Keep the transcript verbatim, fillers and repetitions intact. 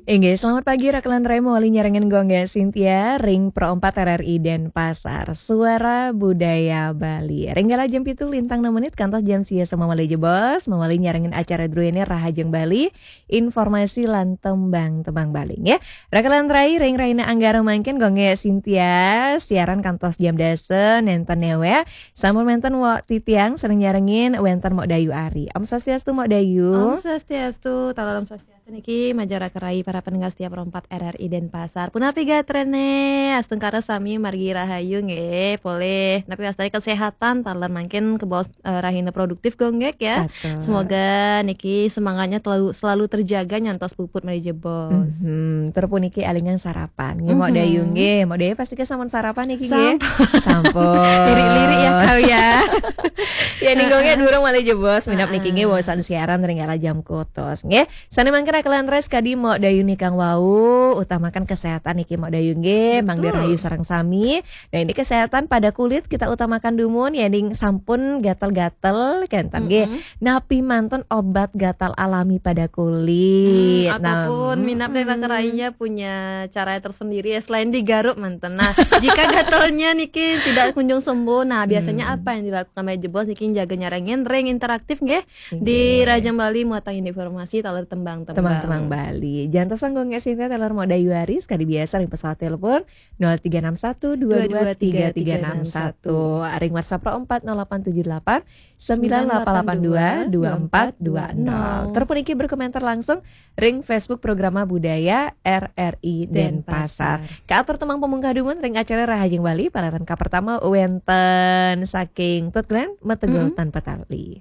Inggih, selamat pagi, Rakelan Rai, mawali nyarengin Gung Gek Sintia, ring Pro empat R R I Denpasar, Suara Budaya Bali. Ring galah jam pitu lintang enam menit, kantos jam sia semua malih jebos, mawali nyarengin acara druene Rahajeng Bali, informasi lan tembang-tembang Bali, nggih. Rakelan Rai, ring rahina Anggara mangkin, Gung Gek Sintia, siaran kantos jam dasa, nenten newek, sampun wenten Wok Titiang, sareng nyarengin wenten Mok Dayu Ari. Om Swastiastu, Mok Dayu. Om Swastiastu, taler Om Swastiastu niki, majeng Rakelan Rai, para pendengar setia Pro empat R R I Denpasar. Punapi gatrene, astungkara sami margi rahayu nggih, polih. Napi wastane kesehatan, taler mangkin kebaos, eh, rahina produktif, Gung Gek, ya. Atur. Semoga niki semangatnya selalu, selalu terjaga nyantos puput malih jebos. Mhm. Tur puniki elingang sarapan. Nggih, Mok Mhm. Dayu nggih. Mok Dayu pasti sampun sarapan niki nggih. Sampun. Sampun. Lirik-lirik ya kau ya. Ya, ning Gung Gek durung malih jebos, minab niki nggih, Heeh. Wawasan siaran ring galah jam kutus nggih. Sane mangkin Rakelan Rai kadi Mok Dayu nika wau, utamakan kesehatan niki Mok Dayu nggih, mangda Betul. rahayu sareng sami. Nah, ini kesehatan pada kulit kita utamakan dumun, ya, ning sampun gatal-gatal kenten nggih. Mm-mm. Napi manten obat gatal alami pada kulit? Hmm, Nah, ataupun minab ring mm-mm. Rakelan Rai punya cara tersendiri ya, selain digaruk manten. Nah, jika gatalnya niki tidak kunjung sembuh, nah, biasanya Hmm. apa yang dilakukan malih jebos niki jaga nyarengin ring interaktif nggih? Di Inggih. Rahajeng Bali muatan informasi taler tembang-tembang. Tembang-tembang Bali. Jantosan Gung Gek Sintia, taler Mok Dayu Ari, kadi biasa ring pesawat telepon nol tiga enam satu dua dua tiga tiga enam satu. Ring WhatsApp Pro empat nol delapan tujuh delapan sembilan delapan delapan dua dua empat dua nol. Tur puniki berkomentar langsung ring Facebook Programa Budaya R R I Denpasar. Denpasar. Kaatur tembang pamungkah dumun ring acara Rahajeng Bali, palaran kapertama wenten saking Tut Glenn, Metegul Mm-mm. Tanpa Tali.